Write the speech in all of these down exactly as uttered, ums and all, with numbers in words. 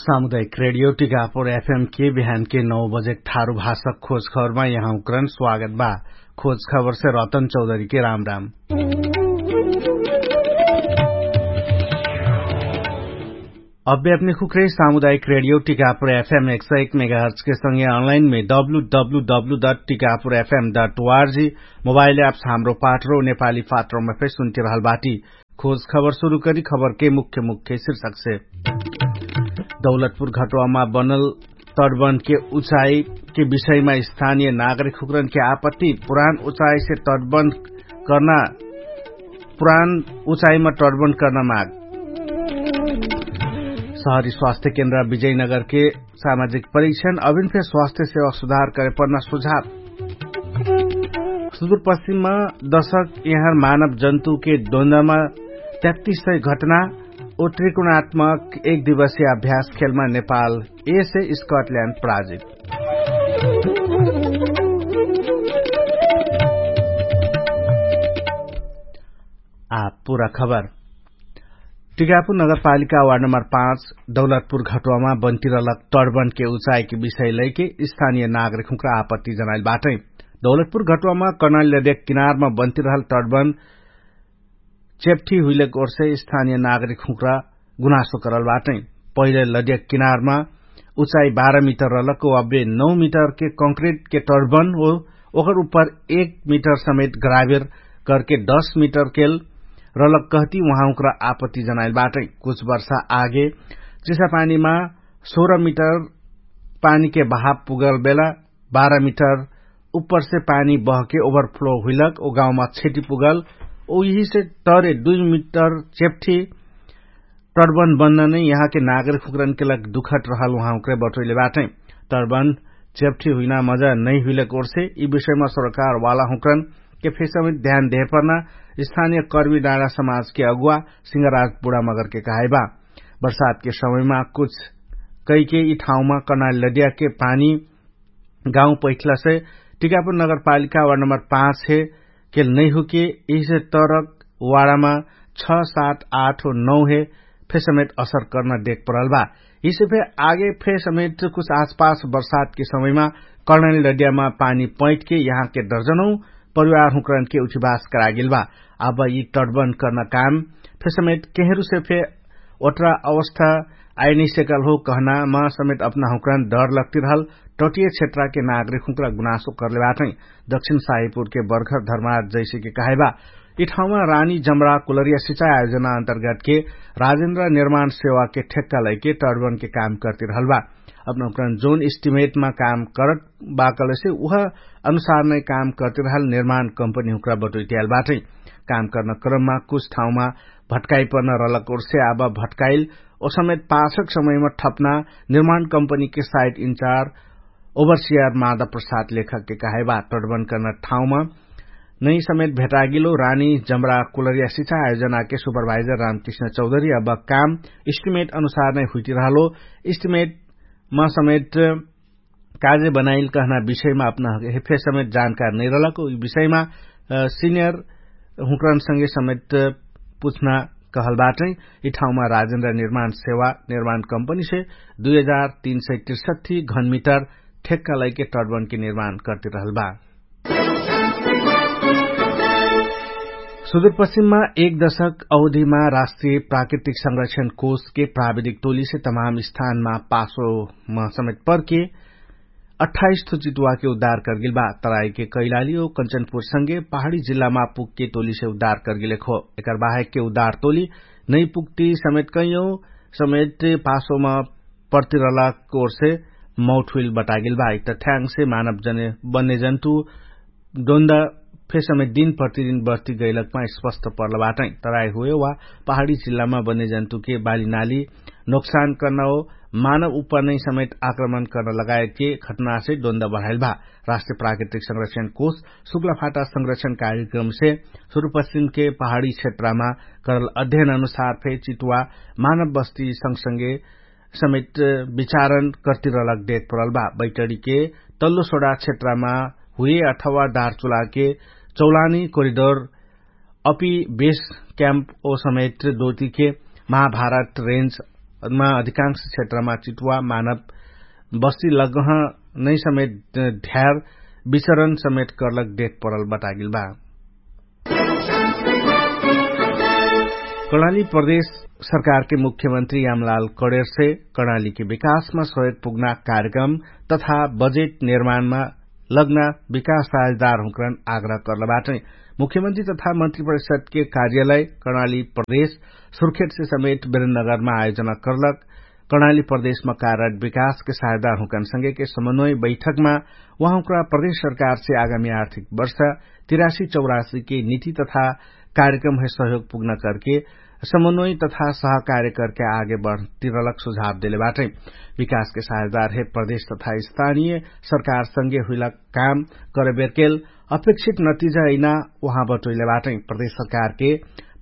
सामुदायिक रेडियो टिकापुर एफएम के बिहान के नौ बजेक थारु भाषक खोज खबरमा यहाँ उक्रन स्वागत बा। खोज खबर से रतन चौधरी के राम राम। अब्बे अपने खुक्रे सामुदायिक रेडियो टिकापुर एफएम एक सौ एक मेगाहर्च के संगे अनलाइन में W W W dot Tikapur FM dot ORG mobile apps हाम्रो पाठरो नेपाली पाठरोमा फेर सुन्तिरहल बाटी। खोज खबर सुरु करी खबर के मुख्य मुख्य शीर्षक से। दौलतपुर घटवामा बनल तटबन्ध के उचाई के विषयमा स्थानीय नागरिक हुक्रन के आपत्ति। पुरान उचाई से तटबन्ध कर्ना पुरान उचाईमा तटबन्ध कर्ना माग। सहरी स्वास्थ्य केन्द्र विजयनगर के सामाजिक परीक्षण अभिन फेर स्वास्थ्य सेवा सुधार करे पर्ना सुझाव। सुदूरपश्चिममा दशक यहाँ मानव जन्तु के द्वन्द्वमा तेत्तीस सय घटना ओ त्रिकोणात्मक एक दिवसीय अभ्यास खेलमा नेपाल एसे स्कटल्याण्ड पराजित। आ पुरा खबर। टिकापुर नगरपालिका वार्ड नम्बर पाँच दौलतपुर घटुवामा बन्तिरलक तडबन्द के उचाइ के विषय लैके स्थानिय नागरिक हुँक्रा आपत्ति जनाइल बाटै। दौलतपुर घटुवामा कर्णाली लड्या किनारमा बन्तिरहल तडबन्द चेप्ठी हुइलक ओर्से स्थानिय नागरिक हुँक्रा गुनासो करल बाटै। पहिले लड्या किनारमा उचाइ बाह्र मिटर रहलक ओ अब्बे नौ मिटर के कंक्रिट के तडबन्द ओ ओकर उप्पर एक मिटर समेत ग्राभेर करके दस मिटर केल रहलक कहती उहाँ हुँक्रा आपत्ति जनाइल बाटै। कुछ वर्षा आगे चिसापानीमा सोह्र मिटर पानीके बहाव पुगल बेला बाह्र मिटर उप्परसे पानी बहके ओभरफ्लो हुइलक ओ गाउँमा क्षति पुगल। ओ यिहिसे तरे दुइ मिटर चेप्ठी तडबन्द बन्द नै यहाँके नागरिक हुँक्रनके लग दुखट रहल उहाँ हुँक्रे बटोइले बाटै। तडबन्द चेप्ठी हुइना मजा नै हुइलक ओर्से यि विषयमा सरकार वाला हुँक्रन के फेसमे ध्यान देहपर्ना स्थानिय कर्मी डाँडा समाजके अगुवा सिंहराज बुढामगरके कहाइबा। बर्सातके समयमा कुछ कैके यि ठाउँमा कर्णाली लड्याके पानी गाउँ पैठलासे टिकापुर नगरपालिका वार्ड नम्बर पाँच हे केल नैहुके यिसे तरक वार्डमा छ सात आठ नौ हे फेसमेत असर कर्ना देख परल बा। यिसे फे आगे फेसमेत कुछ आसपास बर्सातके समयमा कर्णाली लड्यामा पानी पैठके यहाँके दर्जनौ परिवार हुँक्रनके उठिबास करागेल बा। अब यि तडबन्द कर्ना काम फेसमेत केहेरुसे फे ओट्रा अवस्था आइनैसेकल हो कहनामा समेत अपना हुँक्रान डर लग्तिरहल तटिय क्षेत्राके नागरिक हुँक्रा गुनासो कर्ले बाटै। दक्षिण साहिपुरके बर्खर धर्मार जैसेके कहाइबा यि ठाउँमा रानी जमरा कुलरिया सिचाइ आयोजना अन्तर्गतके राजेन्द्र निर्माण सेवाके ठेक्का लैके तडबन्के काम कर्तिरहल बा। अपना हुँक्रान जोन इस्टिमेटमा काम करत बाकलेसे उह अनुसार नै काम कर्तिरहल निर्माण कम्पनी हुँक्रा बटोइटियाल बाटै। काम कर्न क्रममा कुछ ठाउँमा भट्काइ पर्न रलक ओर्से आबा भट्काइल ओ समेत पाछक समयमा ठप्ना निर्माण कम्पनीके साइट इन्चार ओभरसियार मादा प्रसाद लेखकके कहाइबा तडबन्द कर्न ठाउँमा नै समेत भेटागिलो रानी जमरा कुलरिया सिचाइ आयोजनाके सुपरभाइजर रामकृष्ण चौधरी अब काम इस्टिमेट अनुसार नै हुइटिरहलो। इस्टिमेटमा समेत काजे बनाइल कहना विषयमा अपना हेफे समेत जानकार नैरलक यि विषयमा सिनियर हुँक्रान संगे समेत पुछ्ना कहल बाटै। यि ठाउँमा राजेन्द्र निर्माण सेवा निर्माण कम्पनीसे दुई हजार तीन सय त्रिसठी घनमिटर ठेक्का लैके तडबन्के निर्माण कर्तिरहल बा। सुदूरपश्चिममा एक दशक अवधिमा राष्ट्रिय प्राकृतिक संरक्षण कोषके प्राविधिक टोलीसे तमाम स्थानमा पासोमा समेत पर्के अठाइस थो चितुवाके उद्धार कर्गिल बा। तराइके कैलाली ओ कञ्चनपुरसँगे पहाडी जिल्लामा पुगके टोलीसे उद्धार कर्गिलेक हो। एकर बाहेकके उद्धार टोली नैपुगटी समेत कैयौ समेत पासोमा पर्तिरहलाक ओर्से मौठुइल बटागेल बा। यि तथ्याङ्गसे मानव जने बन्ने जन्तु डोन्दा फेसमे दिन प्रतिदिन बर्ती गैलकमा स्पष्ट पर्ल बाटै। तराई हुए वा पहाडी जिल्लामा बन्ने जन्तुके बाली नाली नोक्सान कर्ना हो मानव उप्पर नै समेत आक्रमण कर्न लगायतके घटनासे डोन्दा बढाइल बा। राष्ट्रिय प्राकृतिक संरक्षण कोष शुक्लाफाटा संरक्षण कार्यक्रमसे सुरुपश्चिमके पहाडी क्षेत्रमा करल अध्ययन अनुसार फे चितुवा मानव बस्ती संगसंगे समेत विचारण कर्तिरलक देख परल बा। बैटडीके तल्लो सोडा क्षेत्रमा हुए अथवा दारचुलाके चौलानी कोरिडोर अपि बेस क्याम्प ओ समेत दोतिके महाभारत रेन्ज मा अधिकांश क्षेत्रमा चिटुवा मानव बस्ती लगह नै समेत ढ्यार विचरण समेत कर्लक देख परल बतागेल बा। कर्णाली प्रदेश सरकारके मुख्यमन्त्री यामलाल कडेरसे कर्णालीके विकासमा सहयोग पुग्ना कार्यक्रम तथा बजेट निर्माणमा लग्ना विकास साझेदार हुँकरन आग्रह कर्लबाटै। मुख्यमन्त्री तथा मन्त्री परिषदके कार्यालय कर्णाली प्रदेश सुर्खेटसे समेट बेरेनगरमा आयोजना कर्लक। कर्णाली प्रदेशमा कारक विकासके साझेदार हुँकन संगेके समन्वय बैठकमा उहाँहुँक्रा प्रदेश सरकारसे आगामी आर्थिक वर्ष तिरासी चौरासीके नीति तथा कार्यक्रम है सहयोग पुग्न करके समन्वय तथा सहकार्य करके आगे बढ्तिरलक सुझाव देलेबाटै। विकासके साझेदार है प्रदेश तथा स्थानीय सरकार संगे हुइलक काम करबेरकेल अपेक्षित नतिजा अइना उहाँ बटोइलेबाटै। प्रदेश सरकारके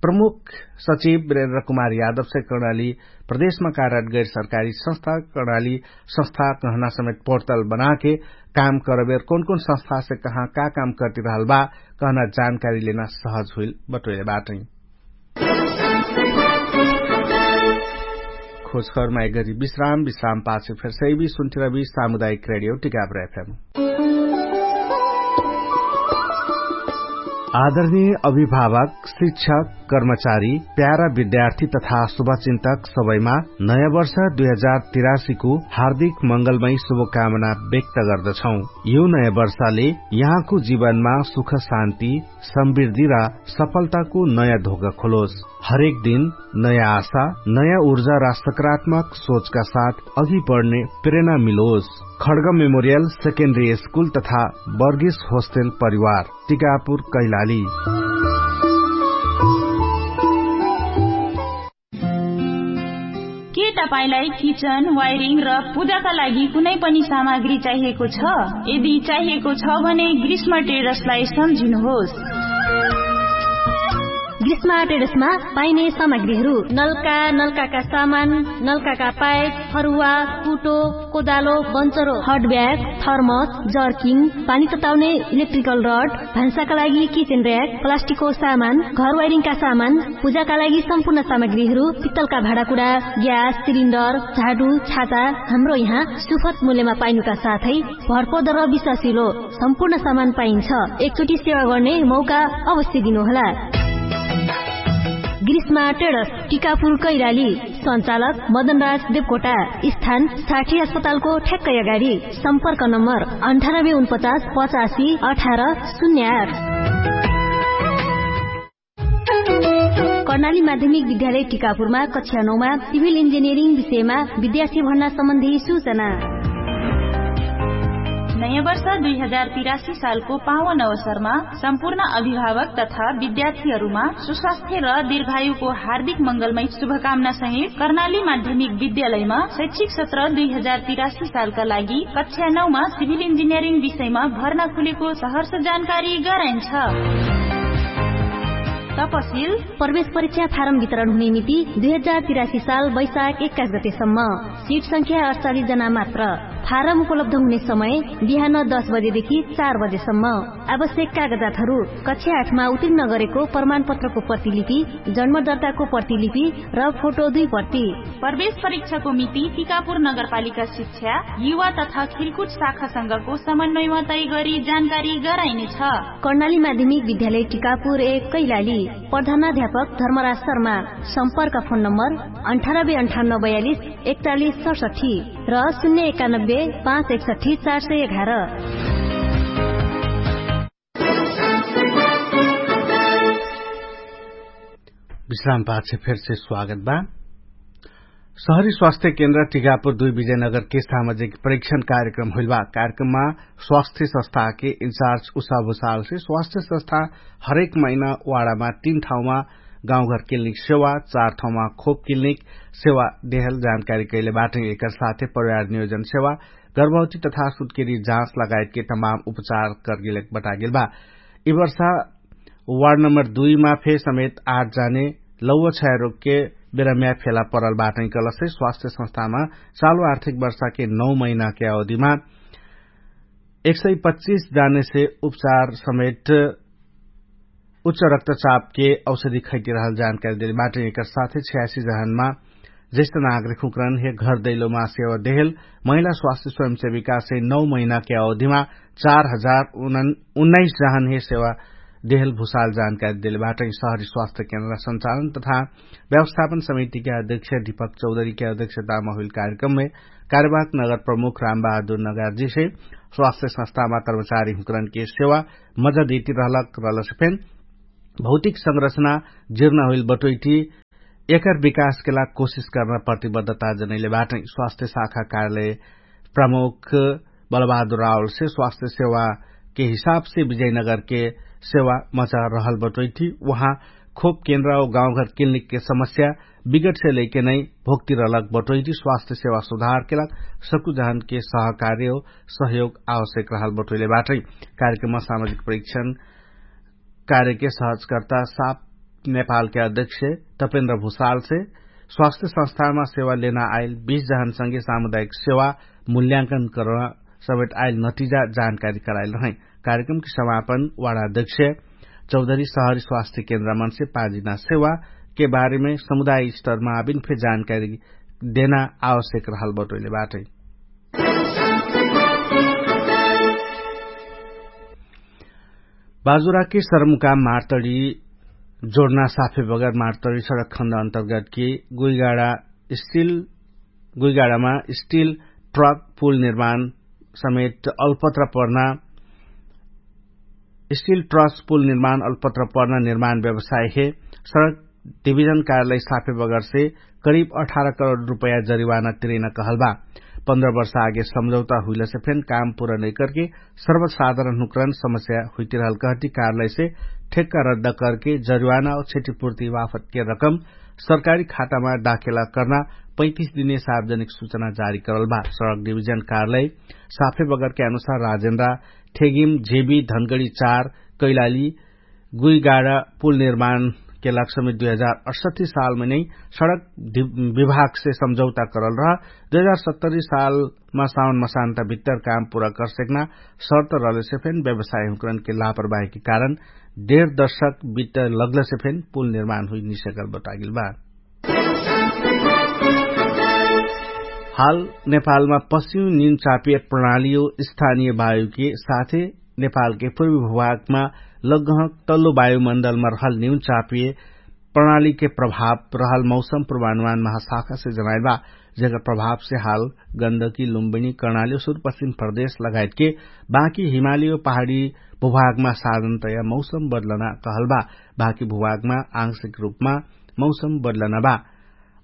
प्रमुख सचिव वीरेन्द्र कुमार यादवसे कर्णाली प्रदेशमा कारक गैर सरकारी संस्था कर्णाली संस्था कहना समेत पोर्टल बनाके काम करबेर कौन कौन संस्थासे कहाँ का काम करतिरहल बा कहना जानकारी लेना सहज हुइल बटोइलेबाटै। खोजखबरमा एक गरी विश्राम विश्राम पाछे फेर सैबी सुन्थिरबी सामुदायिक रेडियो टिकापुर एफएम। आदरणीय अभिभावक, शिक्षक, कर्मचारी, प्यारा विद्यार्थी तथा शुभचिन्तक सबैमा नयाँ वर्ष दुई हजार तिरासीको हार्दिक मंगलमय शुभकामना व्यक्त गर्दछौं। यो नयाँ वर्षले यहाँको जीवनमा सुख शान्ति, समृद्धि र सफलताको नयाँ धोका खोलोस। हरेक दिन नयाँ आशा, नयाँ ऊर्जा र सकारात्मक सोचका साथ अघि बढ्ने प्रेरणा मिलोस। खड्ग मेमोरियल सेकेन्डरी स्कुल तथा बर्गिस होस्टेल परिवार टिकापुर कैलाली। के तपाईंलाई किचन वायरिङ र पूजाका लागि कुनै पनि सामग्री चाहिएको छ? यदि चाहिएको छ भने ग्रीष्म ट्रेडर्सलाई सम्झिनुहोस्। ग्रीष्म ट्रेडर्समा पाइने सामग्रीहरू नल्का, नल्काका सामान, नल्काका पाइप, फरुवा, कुटो, कोदालो, बन्चरो, हट ब्याग, थर्मस, जर्किङ, पानी तताउने इलेक्ट्रिकल रड, भान्साका लागि किचेन र्‍याक, प्लास्टिकको सामान, घर वायरिङका सामान, पूजाका लागि सम्पूर्ण सामग्रीहरू, पित्तलका भाँडाकुडा, ग्यास सिलिन्डर, झाडु, छाता, हाम्रो यहाँ सुपथ मूल्यमा पाइनुका साथै भरपर्दो र विश्वासिलो सम्पूर्ण सामान पाइन्छ। एकचोटि सेवा गर्ने मौका अवश्य दिनुहोला। ग्रीष्मा ट्रेडर्स, टिकापुर कैलाली। सञ्चालक मदनराज देवकोटा। स्थान साठी अस्पतालको ठ्याक्कै अगाडि। सम्पर्क नम्बर अन्ठानब्बे उनपचास पचासी अठार शून्य आठ। कर्णाली माध्यमिक विद्यालय टिकापुरमा कक्षा नौमा सिभिल इन्जिनियरिङ विषयमा विद्यार्थी भर्ना सम्बन्धी सूचना। नयाँ वर्ष दुई हजार तिरासी सालको पावन अवसरमा सम्पूर्ण अभिभावक तथा विद्यार्थीहरूमा सुस्वास्थ्य र दीर्घायुको हार्दिक मंगलमय शुभकामना सहित कर्णाली माध्यमिक विद्यालयमा शैक्षिक सत्र दुई हजार तिरासी सालका लागि कक्षा नौमा सिभिल इन्जिनियरिङ विषयमा भर्ना खुलेको सहर्ष जानकारी गराइन्छ। तपसिल। प्रवेश परीक्षा फारम वितरण हुने मिति दुई हजार तिरासी साल वैशाख एक्काइस गतेसम्म। सिट संख्या अठचालिस जना मात्र। फारम उपलब्ध हुने समय बिहान दस बजेदेखि चार बजेसम्म। आवश्यक कागजातहरू कक्षा आठमा उत्तीर्ण गरेको प्रमाणपत्रको प्रतिलिपि, जन्मदर्ताको प्रतिलिपि र फोटो दुई प्रति। प्रवेश परीक्षाको मिति टिकापुर नगरपालिका शिक्षा, युवा तथा खेलकुद शाखासँगको समन्वयमा तय गरी जानकारी गराइनेछ। कर्णाली माध्यमिक विद्यालय टिकापुर एक कैलाली। प्रधानाध्यापक धर्मराज शर्मा। सम्पर्क फोन नम्बर अन्ठानब्बे अन्ठानब्बे बयालिस एकचालिस सडसठी र शून्य एकानब्बे पाँच एकसठी चार सय एघार। विश्राम पाछे फेरसे स्वागत बा। शहरी स्वास्थ्य केन्द्र टिकापुर दुई विजयनगरके सामाजिक परीक्षण कार्यक्रम होइल बा। कार्यक्रममा स्वास्थ्य संस्थाके इन्चार्ज उषा भुषालसे स्वास्थ्य संस्था हरेक महिना वाडामा तीन ठाउँमा गाउँघर क्लिनिक सेवा, चार ठाउँमा खोप क्लिनिक सेवा देहल जानकारी कैले बाटै। एकर साथे परिवार नियोजन सेवा, गर्भवती तथा सुत्केरी जाँच लगायतके तमाम उपचार करगेल बतागेल बा। यि वर्षा वार्ड नम्बर दुईमा फे समेत आठ जाने लौव क्षयरोगके बेरम्या फेला परल बाटै कलसै स्वास्थ्य संस्थामा चालु आर्थिक वर्षाके नौ महिनाके अवधिमा एक सय पच्चिस जानेसे उपचार समेट उच्च रक्तचापके औषधि खैतिरहल जानकारी देले बाटै। एकर साथै छयासी जहानमा जैसे नागरिक हुँकरन हे घर दैलोमा सेवा देहेल महिला स्वास्थ्य स्वयंसेविकासे नौ महिनाके अवधिमा चार हजार उन्नाइस जहन हे सेवा देहेल भुसाल जानकारी देले बाटै। सहरी स्वास्थ्य केन्द्र संचालन तथा व्यवस्थापन समितिके अध्यक्ष दीपक चौधरीके अध्यक्षतामा हुइल कार्यक्रममे कार्यवाहक नगर प्रमुख रामबहादुर नगारजीसे स्वास्थ्य संस्थामा कर्मचारी हुँकरनके सेवा मजा देती रहलक रहलसे फेन भौतिक संरचना जिर्ना हुइल बटोइटी एकर विकासके लाग कोसिस कर्ना प्रतिबद्धता जनैले बाटै। स्वास्थ्य शाखा कार्यालय प्रमुख बलबहादुर रावलसे स्वास्थ्य सेवाके हिसाबसे विजयनगरके सेवा मचा रहल बटोइटी उहाँ खोप केन्द्र औ गाउँघर क्लिनिकके समस्या विगटसे लैके नै भोक्ति रहलक बटोइटी स्वास्थ्य सेवा सुधारके लाग सकुजहनके सहकार्य औ सहयोग आवश्यक रहल बटोइले बाटै। कार्यक्रममा सामाजिक परीक्षण कार्यके सहजकर्ता साप नेपालके अध्यक्ष तपेन्द्र भुसालसे स्वास्थ्य संस्थामा सेवा लेना आइल बीस जहनसँगे सामुदायिक सेवा मूल्यांकन कर्ना समेट आइल नतिजा जानकारी कराइल रहै। कार्यक्रमके समापन वाडा अध्यक्ष चौधरी सहरी स्वास्थ्य केन्द्रमनसे पाजिना सेवाके बारेमे समुदाय स्तरमा आबिन फे जानकारी देना आवश्यक रहल बटोइले बाटै। बाजुराके सरमुका मार्तडी जोडना साफे बगर मार्तडी सडक खन्द अन्तर्गतके गुइगाडा स्टिल गुइगाडामा स्टिल ट्रक पुल निर्माण समेत अलपत्र पर्ना स्टिल ट्रक पुल निर्माण अलपत्र पर्ना निर्माण व्यवसाय हे सडक डिभिजन कार्यालय साफे बगरसे करिब अठार करोड रुपैया जरिवाना तिरैना कहल बा। पन्ध्र वर्ष आगे सम्झौता हुइलसे फेन काम पुरा नैकरके सर्वसाधारण हुँकरन समस्या हुइतिरहल कहती कार्यालयसे ठेक्का रद्द करके जरिवाना औ क्षतिपूर्ति वाफतके रकम सरकारी खातामा दाखेला कर्ना पैतिस दिने सार्वजनिक सुचना जारी करल बा। सडक डिभिजन कार्यालय साफे बगरके अनुसार राजेन्द्रा ठेगिम जेबी धनगडी चार कैलाली गुइगाडा पुल निर्माणके लाग समेत दुई हजार अठसट्ठी सालमे नै सडक विभागसे सम्झौता करल रह दुई हजार सत्तरी सालमा साउन मसान्ता भित्तर काम पुरा करसेक्ना शर्त रहलेसे फेन व्यवसाय हुँकरनके लापरवाहीके कारण डेढ दर्शक बित्त लग्लसे फेन पुल निर्माण हुइ निसकल बतागिल बा। हाल नेपालमा पश्चिम निन चापिय प्रणालीयो स्थानीय वायुके साथे नेपालके पूर्वी भूभागमा लग्गह तल्लो वायुमण्डलमा रहल निन चापिय प्रणालीके प्रभाव रहल मौसम पूर्वानुमान महाशाखासे जनाइल बा। जेकर प्रभावसे हाल गन्दकी लुम्बिनी कर्णाली सुरपश्चिम प्रदेश लगायतके बाँकी हिमाली औ पहाडी भूभागमा साधनतया मौसम बदलना कहल बा। बाँकी भूभागमा आंशिक रूपमा मौसम बदलना बा।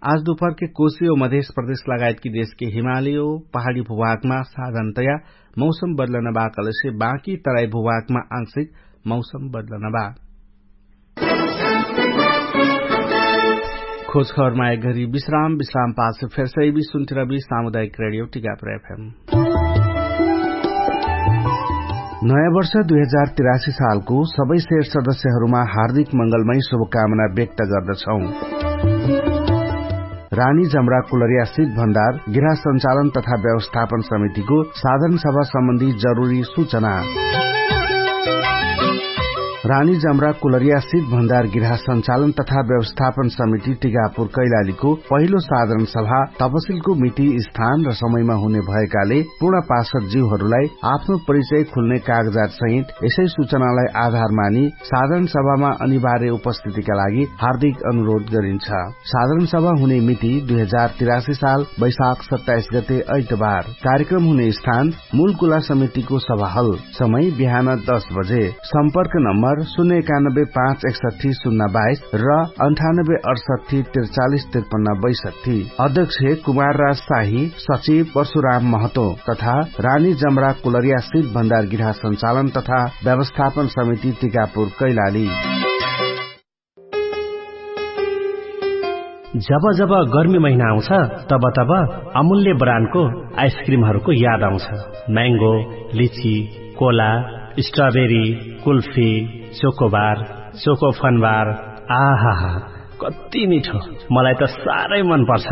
आज दुपहरके कोशी औ मधेश प्रदेश लगायतकी देशके हिमाली औ पहाडी भूभागमा साधनतया मौसम बदलना बा कहलेसे बाँकी तराई भूभागमा आंशिक मौसम बदलना बा। खोजखबरमा एक घरी विश्राम विश्राम पासे फेरसै बि सुन्तिरबि सामुदायिक रेडियो टिकापुर एफएम। नयाँ वर्ष दुई हजार तिरासी सालको सबै शेर सदस्यहरूमा हार्दिक मंगलमय शुभकामना व्यक्त गर्दछौँ। रानी जमरा कुलरिया सित भण्डार गृह सञ्चालन तथा व्यवस्थापन समितिको साधारण सभा सम्बन्धी जरुरी सूचना। रानी जमरा कुलरिया सित भण्डार गृह सञ्चालन तथा व्यवस्थापन समिति टिकापुर कैलालीको पहिलो साधारण सभा तपसिलको मिति स्थान र समयमा हुने भएकाले पूर्ण पार्षद जिउहरूलाई आफ्नो परिचय खुल्ने कागजात सहित यसै सूचनालाई आधार मानि साधारण सभामा अनिवार्य उपस्थितिका लागि हार्दिक अनुरोध गरिन्छ। साधारण सभा हुने मिति दुई हजार तिरासी साल वैशाख सत्ताइस गते ऐतबार। कार्यक्रम हुने स्थान मूलकुला समितिको सभाहल। समय बिहान दस बजे। सम्पर्क नम्बर शून्य एकानब्बे पाँच एकसट्ठी शून्य बाइस र अन्ठानब्बे अठसट्ठी त्रिचालिस त्रिपन्न बैसट्ठी। अध्यक्ष कुमार राज शाही, सचिव परशुराम महतो तथा रानी जमरा कुलरिया सित भण्डार गृह सञ्चालन तथा व्यवस्थापन समिति टिकापुर कैलाली। जब जब गर्मी महिना आउँछ, तब तब अमूल्य ब्रान्डको आइसक्रिमहरूको याद आउँछ। म्याङ्गो, लिची, कोला, स्ट्रबेरी, कुल्फी, चोकोबार, चोकोफनबार, आहाहा, कति मिठो। मलाई त साह्रै मन पर्छ।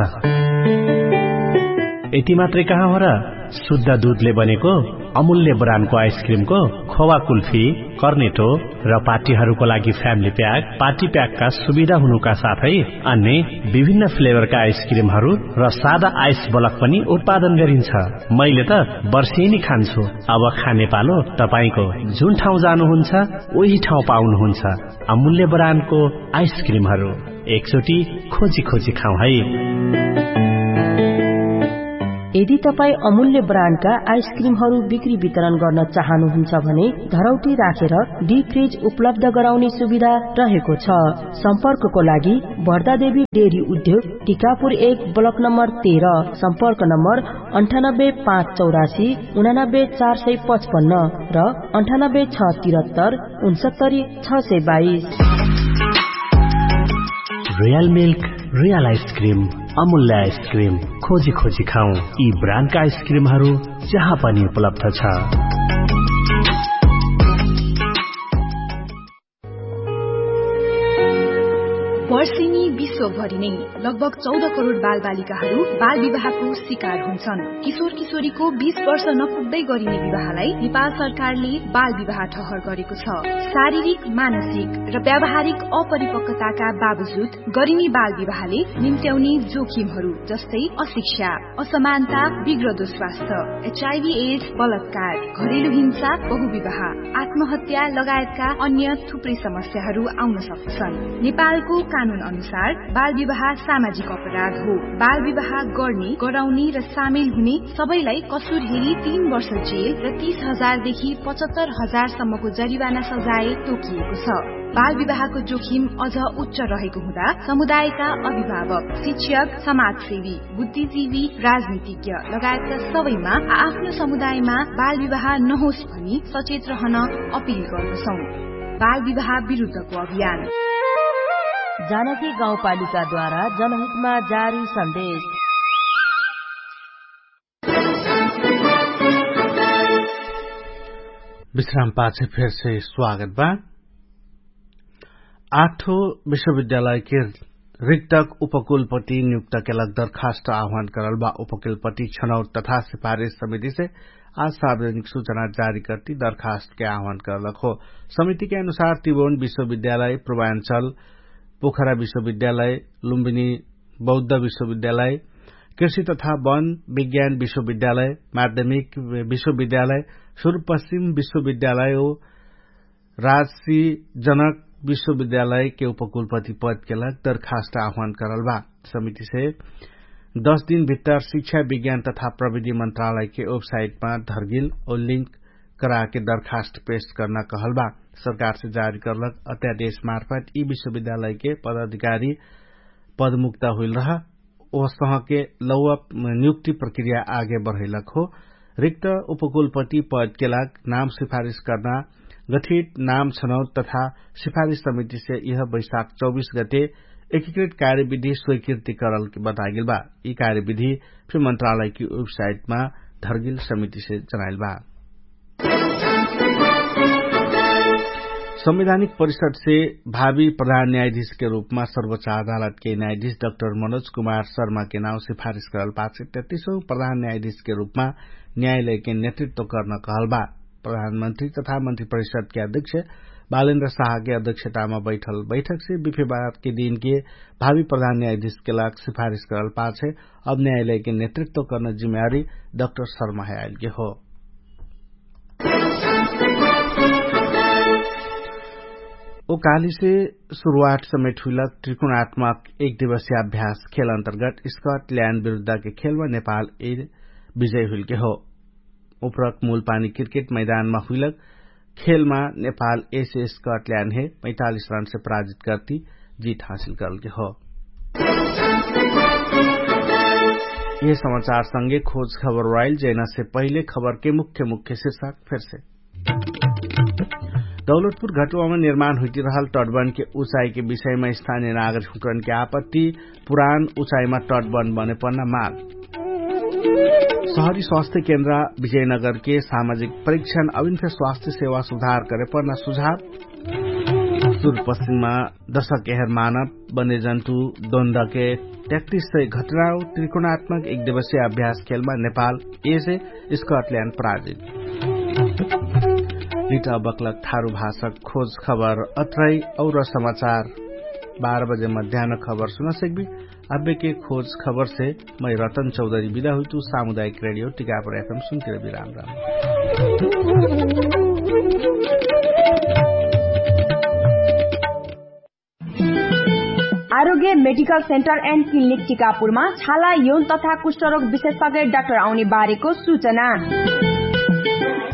यति मात्रै कहाँ हो र, शुद्ध दुधले बनेको अमूल्य ब्रान्डको आइसक्रिमको खोवा कुल्फी कर्नेटो र पार्टीहरूको लागि फ्यामिली प्याक पार्टी प्याकका सुविधा हुनुका साथै अन्य विभिन्न फ्लेभरका आइसक्रिमहरू र सादा आइस बलक पनि उत्पादन गरिन्छ। मैले त वर्षेनी खान्छु। अब खाने पालो तपाईंको। जुन ठाउँ जानुहुन्छ उही ठाउँ पाउनुहुन्छ अमूल्य ब्रान्डको आइसक्रिमहरू। एकचोटि खोजी खोजी खाउँ है। यदि तपाईं अमूल्य ब्रान्डका आइसक्रिमहरू बिक्री वितरण गर्न चाहनुहुन्छ भने धरौटी राखेर डिफ्रिज उपलब्ध गराउने सुविधा रहेको छ। सम्पर्कको लागि भर्दादेवी डेरी उद्योग टिकापुर एक ब्लक नम्बर तेह्र। सम्पर्क नम्बर अन्ठानब्बे पाँच चौरासी उनानब्बे चार सय पचपन्न र अन्ठानब्बे छ तिरत्तर उनसत्तरी छ सय बाइस। रियल मिल्क, रियल आइसक्रिम, अमूल्य आइसक्रिम। खोजी खोजी खाउँ यी ब्रान्डका आइसक्रिमहरू जहाँ पनि उपलब्ध छ। वर्षेनी विश्वभरि नै लगभग चौध करोड बालबालिकाहरू बाल विवाहको शिकार हुन्छन्। किशोर किशोरीको बीस वर्ष नपुग्दै गरिने विवाहलाई नेपाल सरकारले बाल विवाह ठहर गरेको छ। शारीरिक, मानसिक र व्यावहारिक अपरिपक्वताका बावजुद गरिने बाल विवाहले निम्त्याउने जोखिमहरू जस्तै अशिक्षा, असमानता, बिग्रदो स्वास्थ्य, एचआइभी एड्स, बलात्कार, घरेलु हिंसा, बहुविवाह, आत्महत्या लगायतका अन्य थुप्रै समस्याहरू आउन सक्दछन्। नेपालको कानुन अनुसार बाल विवाह सामाजिक अपराध हो। बाल विवाह गर्ने, गराउने र सामेल हुने सबैलाई कसुर हेरी तीन वर्ष जेल र तीस हजार देखि पचहत्तर हजार सम्मको जरिवाना सजाय तोकिएको छ। बाल विवाहको जोखिम अझ उच्च रहेको हुँदा समुदायका अभिभावक, शिक्षक, समाजसेवी, बुद्धिजीवी, राजनीतिज्ञ लगायतका सबैमा आआफ्नो समुदायमा बाल विवाह नहोस् भनी सचेत रहन अपिल गर्दछौं। बाल विवाह विरुद्धको अभियान। जानकी गाउँपालिकाद्वारा जनहितमा जारी सन्देश। विश्राम पाछे फेरसे स्वागत बा। आठो विश्वविद्यालयके रिक्तक उपकुलपति नियुक्तके लग दरखास्त आह्वान करल बा। उपकुलपति छनौट तथा सिफारिस समितिसे आज सार्वजनिक सूचना जारी करती दरखास्तके आह्वान करलक हो। समितिके अनुसार तिबोन विश्वविद्यालय, पूर्वाञ्चल, पोखरा विश्वविद्यालय, लुम्बिनी बौद्ध विश्वविद्यालय, कृषि तथा वन विज्ञान विश्वविद्यालय, माध्यमिक विश्वविद्यालय, सुरुपश्चिम विश्वविद्यालय ओ राजसी जनक विश्वविद्यालयके उपकुलपति पदके लग दरखास्त आह्वान करल बा। समितिसे दश दिन भित्तर शिक्षा विज्ञान तथा प्रविधि मन्त्रालयके वेबसाइटमा धर्गिल ओ लिङ्क कराके दरखास्त पेश कर्ना कहल बा। सरकारसे जारी करलक अध्यादेश मार्फत यि विश्वविद्यालयके पदाधिकारी पदमुक्त हुइल रह ओसहके लौवा नियुक्ति प्रक्रिया आगे बढैलक हो। रिक्त उपकुलपति पदके लाग नाम सिफारिस कर्ना गठित नाम छनौट तथा सिफारिस समितिसे यह बैशाख चौबीस गते एकीकृत कार्यविधि स्वीकृति करल बतागेल बा। यि कार्यविधि फिर मन्त्रालयकी वेबसाइटमा धर्गिल समितिसे जनाइल बा। संवैधानिक परिषदसे भावी प्रधान न्यायाधीशके रूपमा सर्वोच्च अदालतके न्यायाधीश डाक्टर मनोज कुमार शर्माके नाउँ सिफारिस करल पाछे तेत्तिसौँ प्रधान न्यायाधीशके रूपमा न्यायालयके नेतृत्व कर्न कहल बा। प्रधानमन्त्री तथा मन्त्री परिषदके अध्यक्ष बालेन्द्र शाहके अध्यक्षतामा बैठल बैठकसे बिफेबारके दिनके भावी प्रधान न्यायाधीशके लाग सिफारिस करल पाछे अब न्यायालयके नेतृत्व कर्न जिम्मेवारी डाक्टर शर्मा हे आइलके हो। ओ कालीसे सुरुवाट समेट हुइलक त्रिकोणात्मक एक दिवसीय अभ्यास खेल अन्तर्गत स्कटल्याण्ड विरुद्धके खेलमा नेपाल ए विजय हुइलके हो। उपरक मूल पानी क्रिकेट मैदानमा हुइलक खेलमा नेपाल एसे स्कटल्याण्ड हे पैतालिस रनसे पराजित कर्ति जित हासिल करलके हो। यह समाचार संगे खोज खबर वाइल जैनासे पहिले खबरके मुख्य मुख्य शिर्षक फेरसे। दौलतपुर घटुवामा निर्माण हुइटिरहल टटबनके उचाइके विषयमा स्थानीय नागरिक हुकरनके आपत्ति पुरान उचाइमा टटबन बने पर्ना माग। सहरी स्वास्थ्य केन्द्र विजयनगरके सामाजिक परीक्षण अभिन्फे स्वास्थ्य सेवा सुधार करे पर्ना सुझाव। सुरुपश्चिममा दशक एहर मानव बन्यजन्तु द्वन्द्वके त्याक्तिस सय घटनाओ त्रिकोणात्मक एक दिवसीय अभ्यास खेलमा नेपाल एसे स्कटल्याण्ड पराजित। इट अबक्लक थारु भाषक खोज खबर अत्रै। और समाचार बाह्र बजे मध्यान खबर सुनसक्बी। अब्बेके खोज खबरसे मै रतन चौधरी बिदा हुइतु। सामुदायिक रेडियो टिकापुर एफएम सुनतिर बिराम राम। आरोग्य मेडिकल सेन्टर एन्ड क्लिनिक टिकापुरमा छाला यौन तथा कुष्ठरोग विशेषज्ञ डाक्टर आउने बारेको सूचना।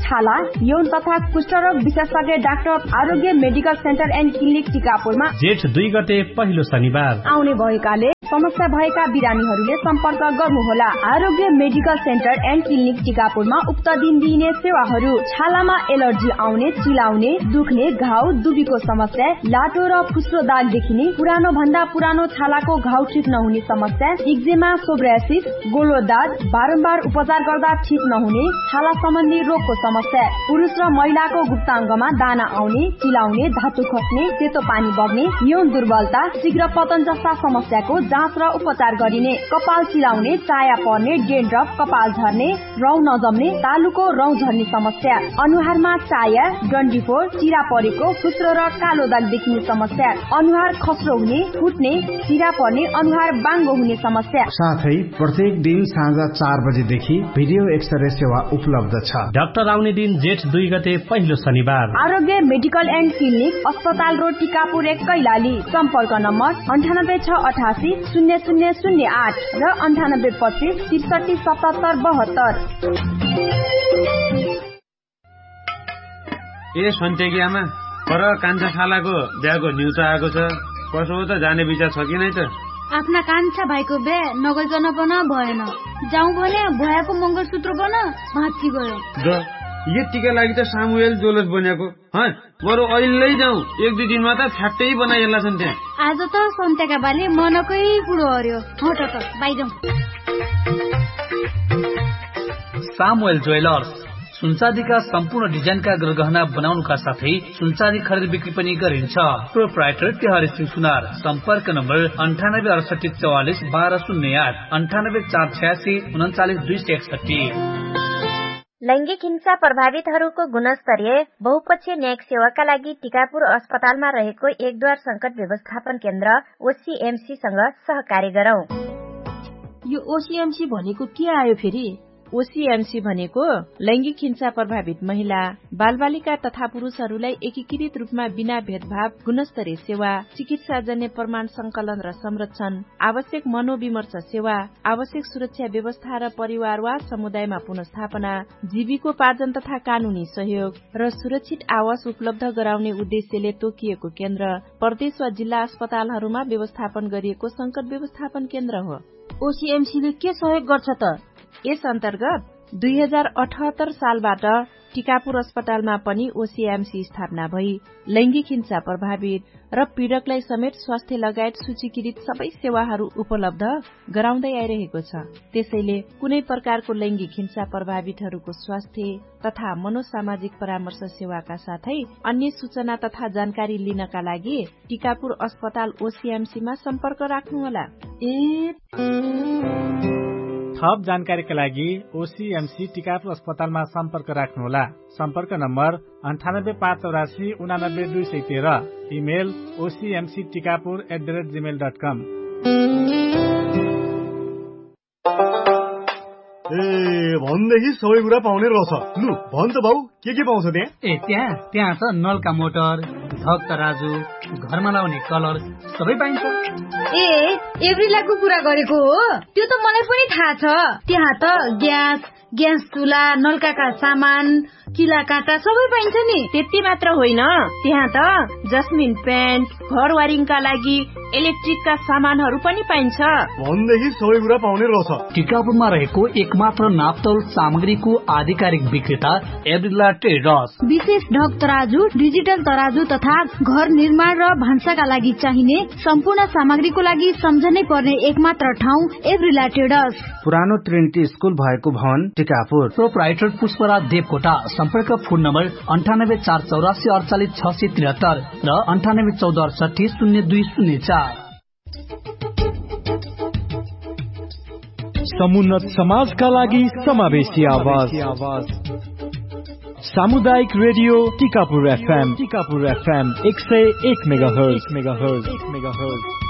छाला यौन तथा कुष्ठरोग विशेषज्ञ डाक्टर आरोग्य मेडिकल सेन्टर एन्ड क्लिनिक टिकापुरमा जेठ दुई गते पहिलो शनिबार आउने भएकाले समस्या भएका बिरामीहरूले सम्पर्क गर्नुहोला। आरोग्य मेडिकल सेन्टर एन्ड क्लिनिक टिकापुरमा उक्त दिन दिइने सेवाहरू छालामा एलर्जी आउने, चिलाउने, दुख्ने, घाउ दुबीको समस्या, लाटो र फुस्रो दाग देखिने, पुरानो भन्दा पुरानो छालाको घाउ ठिक नहुने समस्या, इक्जेमा, सोब्रासिस, गोलो दाग, बारम्बार उपचार गर्दा ठिक नहुने छाला सम्बन्धी रोगको समस्या, पुरुष र महिलाको गुप्ताङ्गमा दाना आउने, चिलाउने, धातु खस्ने, सेतो पानी बग्ने, यौन दुर्बलता, शीघ्र पतन जस्ता समस्याको जाँच र उपचार गरिने, कपाल चिलाउने, चाया पर्ने, डेन्ड्रप, कपाल झर्ने, रौँ नजम्ने, तालुको रौँ झर्ने समस्या, अनुहारमा चाया, डन्डीफोर, चिरा परेको, फुस्रो र कालो दाग देखिने समस्या, अनुहार खस्रो हुने, फुट्ने, चिरा पर्ने, अनुहार बाङ्गो हुने समस्या। साथै प्रत्येक दिन साँझ चार बजेदेखि भिडियो एक्सरे सेवा उपलब्ध छ। डाक्टर आउने दिन जेठ दुई गते पहिलो शनिबार। आरोग्य मेडिकल एन्ड क्लिनिक, अस्पताल रोड, टिकापुर एक, कैलाली। सम्पर्क नम्बर अन्ठानब्बे छ अठासी शून्य शून्य शून्य आठ र अन्ठानब्बे पच्चिस त्रिसठी सतहत्तर बहत्तर। ए सन्त्याकी आमा, पर कान्छा सालाको ब्याको न्युचा आएको छ। कसो हो त, जाने विचार छ कि नै त? आफ्ना कान्छा भाइको ब्या नगइकन पन भएन। जाउँ भने भ्वायाको मङ्गलसूत्र पन भाँच्ची गयो। द, यतिका लागि त सामुएल ज्वेलर्स बन्याको। हँ, बरु अहिल्लै जाउँ, एक दुई दिनमा त फ्याट्टै बनाइहाल्ला छन् त्यहाँ। आज त सन्त्याका बाले मनकै कुरो हर्यो। हट त, बाइ जाउँ। सामुएल ज्वेलर्स, सुनचाँदीका सम्पूर्ण डिजाइनका गरगहना बनाउनुका साथै सुनचाँदी खरिद बिक्री पनि गरिन्छ। प्रोप्राइटर टेहरी सिंह सुनार। सम्पर्क नम्बर अन्ठानब्बे अडसट्ठी चौवालिस बाह्र शून्य आठ, अन्ठानब्बे चार छयासी उनन्चालिस दुई सय एकसट्ठी। लैङ्गिक हिंसा प्रभावितहरूको गुणस्तरीय बहुपक्षीय न्यायिक सेवाका लागि टिकापुर अस्पतालमा रहेको एकद्वार संकट व्यवस्थापन केन्द्र ओसिएमसीसँग सहकार्य गरौँ। यो ओसिएमसी भनेको के आयो फेरि? ओसिएमसी भनेको लैङ्गिक हिंसा प्रभावित महिला, बालबालिका तथा पुरुषहरूलाई एकीकृत रूपमा बिना भेदभाव गुणस्तरीय सेवा, चिकित्साजन्य प्रमाण संकलन र संरक्षण, आवश्यक मनोविमर्श सेवा, आवश्यक सुरक्षा व्यवस्था र परिवार वा समुदायमा पुनर्स्थापना, जीविकोपार्जन तथा कानुनी सहयोग र सुरक्षित आवास उपलब्ध गराउने उद्देश्यले तोकिएको केन्द्र प्रदेश वा जिल्ला अस्पतालहरूमा व्यवस्थापन गरिएको संकट व्यवस्थापन केन्द्र हो। ओसिएमसीले के सहयोग गर्छ त? यस अन्तर्गत दुई हजार अठहत्तर सालबाट टिकापुर अस्पतालमा पनि ओसिएमसी स्थापना भई लैङ्गिक हिंसा प्रभावित र पीडकलाई समेत स्वास्थ्य लगायत सूचीकृत सबै सेवाहरू उपलब्ध गराउँदै आइरहेको छ। त्यसैले कुनै प्रकारको लैङ्गिक हिंसा प्रभावितहरूको स्वास्थ्य तथा मनोसामाजिक परामर्श सेवाका साथै अन्य सूचना तथा जानकारी लिनका लागि टिकापुर अस्पताल ओसिएमसीमा सम्पर्क राख्नुहोला। ए थप जानकारीका लागि ओसिएमसी टिकापुर अस्पतालमा सम्पर्क राख्नुहोला। सम्पर्क नम्बर अन्ठानब्बे पाँच चौरासी उनानब्बे दुई सय तेह्र। Email OCMC Tikapur at the rate gmail dot com. ए, भन्नेही सबै कुरा पाउने रछ। लु भन त बाउ, के के पाउँछ त्यहाँ? ए त्यहाँ त्यहाँ त नलका मोटर, ढक तराजु, घरमा लाउने कलर सबै पाइन्छ। ए, एभ्रिलाको कुरा गरेको हो? त्यो त मलाई पनि थाहा छ। त्यहाँ त ग्यास, ग्यास चुला, नलकाका सामान, किला काँटा सबै पाइन्छ नि। त्यति मात्र होइन, त्यहाँ त जस्मिन पेन्ट, घर वारिङका लागि इलेक्ट्रिकका सामानहरू पनि पाइन्छ। भन्नेही सबै कुरा पाउने रछ। टिकापुरमा रहेको एकमात्र नापतौल सामग्रीको आधिकारिक विक्रेता एभ्रिला ट्रेडर्स। विशेष ढक तराजु, डिजिटल तराजु तथा घर निर्माण र भान्साका लागि चाहिने सम्पूर्ण सामग्रीको लागि सम्झनै पर्ने एकमात्र ठाउँ एभ्रिला ट्रेडर्स। पुरानो ट्रिनिटी स्कुल भएको भवन टिकापुर। प्रोप्राइटर पुष्पराज देवकोटा। सम्पर्क फोन नम्बर अन्ठानब्बे चार चौरासी अडचालिस छ सय त्रिहत्तर र अन्ठानब्बे चौध अडसट्ठी शून्य दुई शून्य चार। समुन्नत समाजका लागि समावेशी आवाज। सामुदायिक रेडियो टिकापुर एफएम टिकापुर एफएम एक सय एक मेगाहर्ज मेगाहर्ज मेगाहर्ज।